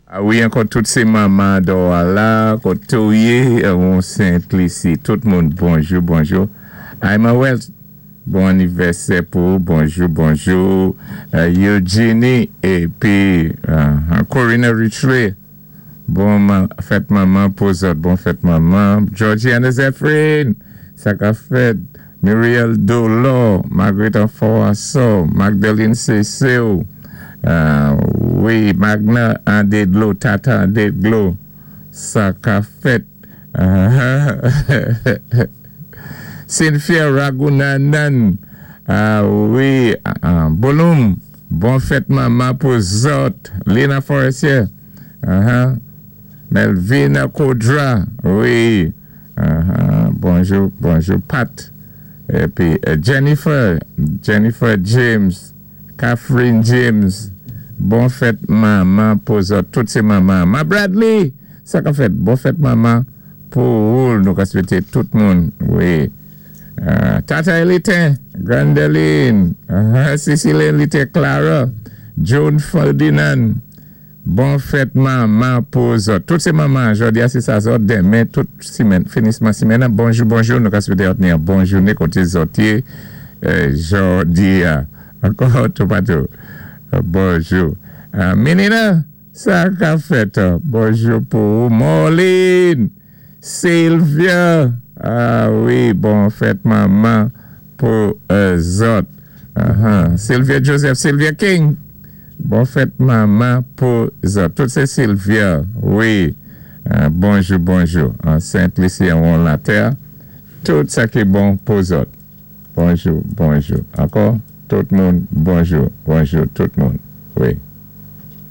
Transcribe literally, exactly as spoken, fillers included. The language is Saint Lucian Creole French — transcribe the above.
A wi, ankò tout sé manman dò la, koté ou yé, on Sent-Lisi. Tout moun, bonjou, bonjou. Aïma Wells, bon anivèsè pou, bonjou, bonjou. Euh, Eugenie, épi euh, Corina Richley, bon fèt manman pou zòt, bon fèt manman. Georgiana Zephyrin, sa ka fèt. Muriel Dolo, Marguerite Anfoasso, Magdalene Cecile, euh, wi, Magna Andedlo, Tata Andedlo, sa ka fèt. Cynthia Ragunanan, ah wi, uh, Bolum, bon fèt manman pou zòt, Lena Forestier, uh-huh. Melvina Kodra, wi, uh-huh. Bonjou, bonjou, Pat, épi euh, Jennifer, Jennifer James, Catherine James, bon fèt manman pou zòt, tout sé manman. Ma Bradley, sa ka fèt, bon fèt manman pou ou, nou ka swété tout moun, wi. Euh, Tata Elitin, Grandeline, uh, Cécile Elitin, Clara, Joan Ferdinand, bon fèt manman pou zòt. Tout sé manman, jòdi a sé sa zòt, denmen, tout simèn, finisman simèn, bonjou, bonjou, nou ka swété ni yon bon jouné koté zòt yé, euh, jòdi a, ankò toupatou. Euh, bonjou. Euh, Menina, sa ka fèt, bonjou pou Moline, Sylvia, ah wi, bon fèt manman pou euh, zòt. Uh-huh. Sylvia Joseph, Sylvia King, bon fèt manman pou zòt. Tout sé Sylvia, wi. Euh, bonjou, bonjou. An Sent-Lisi, an Latè. Tout sa ki bon pou zòt. Bonjou, bonjou. Ankò, tout moun, bonjou, bonjou, tout moun. Wi.